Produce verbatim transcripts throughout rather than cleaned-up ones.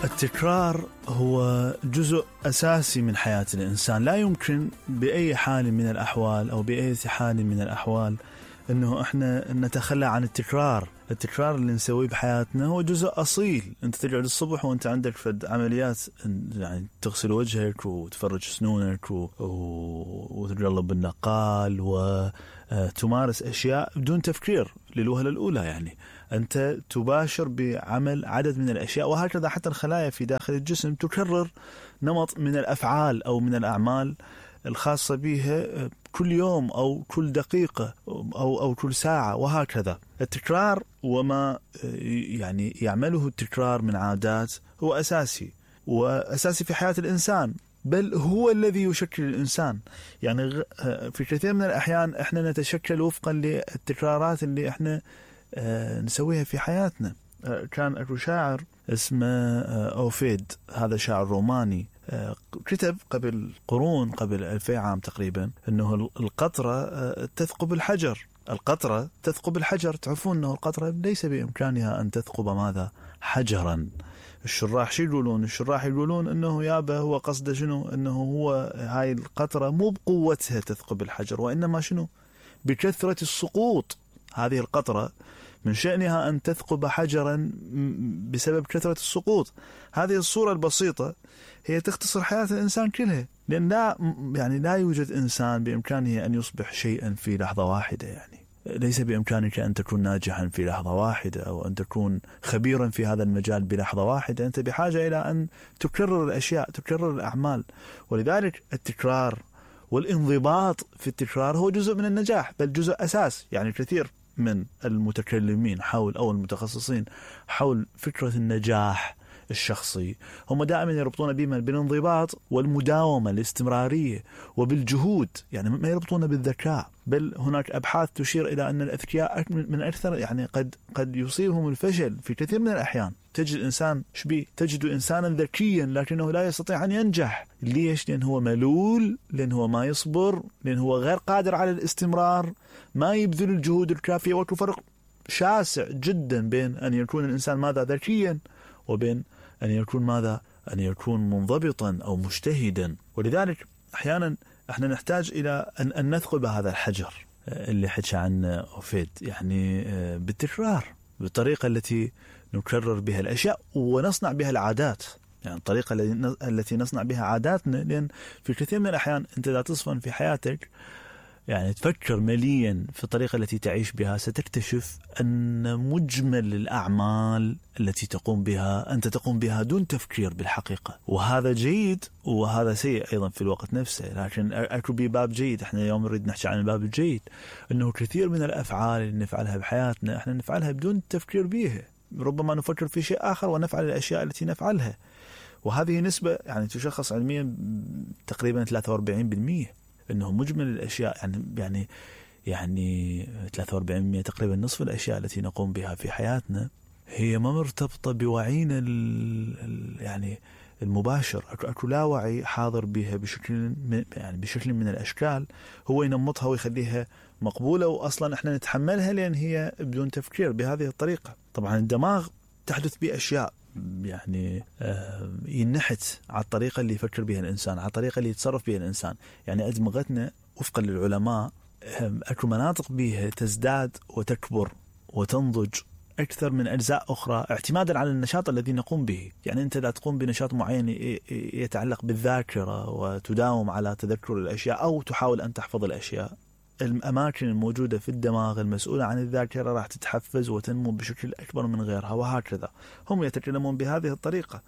التكرار هو جزء أساسي من حياة الإنسان. لا يمكن بأي حال من الأحوال أو بأي حال من الأحوال أنه إحنا نتخلى عن التكرار. التكرار اللي نسويه بحياتنا هو جزء أصيل. أنت تقعد الصبح وأنت عندك فد عمليات، يعني تغسل وجهك وتفرج سنونك و... وتجرب بالنقال وتمارس أشياء بدون تفكير للوهلة الأولى. يعني أنت تباشر بعمل عدد من الأشياء، وهكذا حتى الخلايا في داخل الجسم تكرر نمط من الأفعال أو من الأعمال الخاصة بها كل يوم أو كل دقيقة أو أو كل ساعة، وهكذا. التكرار وما يعني يعمله التكرار من عادات هو أساسي وأساسي في حياة الإنسان، بل هو الذي يشكل الإنسان. يعني في كثير من الأحيان إحنا نتشكل وفقا للتكرارات اللي إحنا نسويها في حياتنا. كان أكو شاعر اسمه أوفيد، هذا شاعر روماني، كتب قبل قرون، قبل ألفي عام تقريبا، أنه القطرة تثقب الحجر. القطرة تثقب الحجر. تعرفون أنه القطرة ليس بإمكانها أن تثقب ماذا؟ حجرا. الشراح شو يقولون؟ الشراح يقولون أنه يابا هو قصده شنو؟ أنه هو هاي القطرة مو بقوتها تثقب الحجر، وإنما شنو؟ بكثرة السقوط. هذه القطرة من شأنها أن تثقب حجرا بسبب كثرة السقوط. هذه الصورة البسيطة هي تختصر حياة الإنسان كلها، لأن لا يعني لا يوجد إنسان بإمكانه أن يصبح شيئا في لحظة واحدة. يعني ليس بإمكانك أن تكون ناجحا في لحظة واحدة أو أن تكون خبيرا في هذا المجال بلحظة واحدة. أنت بحاجة إلى أن تكرر الأشياء، تكرر الأعمال. ولذلك التكرار والانضباط في التكرار هو جزء من النجاح، بل جزء أساس. يعني كثير من المتكلمين حول أو المتخصصين حول فكرة النجاح الشخصي هم دائما يربطون بما بالانضباط والمداومة، الاستمرارية وبالجهود. يعني ما يربطون بالذكاء، بل هناك أبحاث تشير إلى أن الأذكياء من أكثر يعني قد قد يصيبهم الفشل في كثير من الأحيان. تجد إنسان شبيه، تجد إنسانا ذكيا لكنه لا يستطيع أن ينجح. ليش؟ لأن هو ملول، لأن هو ما يصبر، لأن هو غير قادر على الاستمرار، ما يبذل الجهود الكافية. والفرق شاسع جدا بين أن يكون الإنسان ماذا ذكيا وبين أن يكون ماذا أن يكون منضبطا أو مجتهدا. ولذلك أحيانا احنا نحتاج إلى أن, أن نثقب هذا الحجر اللي حكى عنه أوفيد، يعني بالتكرار، بالطريقة التي نكرر بها الأشياء ونصنع بها العادات. يعني الطريقة التي نصنع بها عاداتنا، لأن في كثير من الأحيان أنت لا تصفن في حياتك يعني تفكر مليا في الطريقة التي تعيش بها، ستكتشف أن مجمل الأعمال التي تقوم بها أنت تقوم بها دون تفكير بالحقيقة. وهذا جيد وهذا سيء أيضا في الوقت نفسه. لكن أكو بباب جيد. احنا اليوم نريد نحكي عن الباب الجيد، أنه كثير من الأفعال اللي نفعلها بحياتنا احنا نفعلها بدون تفكير بها. ربما نفكر في شيء آخر ونفعل الأشياء التي نفعلها، وهذه نسبة يعني تشخص علميا تقريبا ثلاثة وأربعين بالمئة. انه مجمل الاشياء يعني يعني يعني ثلاثة وأربعين بالمئة تقريبا نصف الاشياء التي نقوم بها في حياتنا هي ما مرتبطه بوعينا يعني المباشر. اكو لا وعي حاضر بها بشكل يعني بشكل من الاشكال هو ينمطها ويخليها مقبوله، واصلا احنا نتحملها لان هي بدون تفكير بهذه الطريقه. طبعا الدماغ تحدث به اشياء يعني ينحت على الطريقة اللي يفكر بها الإنسان، على الطريقة اللي يتصرف بها الإنسان. يعني أدمغتنا وفقا للعلماء أكو مناطق بها تزداد وتكبر وتنضج أكثر من أجزاء أخرى اعتمادا على النشاط الذي نقوم به. يعني أنت لا تقوم بنشاط معين يتعلق بالذاكرة وتداوم على تذكر الأشياء أو تحاول أن تحفظ الأشياء، الأماكن الموجودة في الدماغ المسؤولة عن الذاكرة راح تتحفز وتنمو بشكل أكبر من غيرها، وهكذا. هم يتكلمون بهذه الطريقة،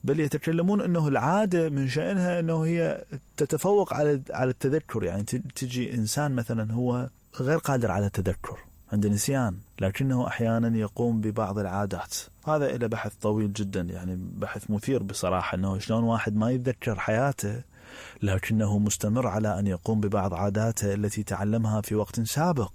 بل يتكلمون أنه العادة من شأنها أنه هي تتفوق على على التذكر. يعني تجي إنسان مثلا هو غير قادر على التذكر، عنده نسيان، لكنه أحيانا يقوم ببعض العادات. هذا إلى بحث طويل جدا، يعني بحث مثير بصراحة، أنه شلون واحد ما يتذكر حياته لكنه مستمر على أن يقوم ببعض عاداته التي تعلمها في وقت سابق.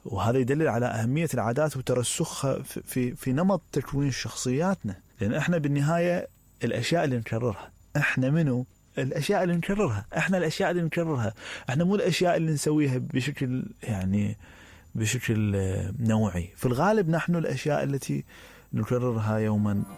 وهذا يدلل على أهمية العادات وترسخها في, في, في نمط تكوين شخصياتنا. لأن إحنا بالنهاية الأشياء اللي نكررها، إحنا منو؟ الأشياء اللي نكررها، إحنا الأشياء اللي نكررها، إحنا مو الأشياء اللي نسويها بشكل يعني بشكل نوعي. في الغالب نحن الأشياء التي نكررها يوما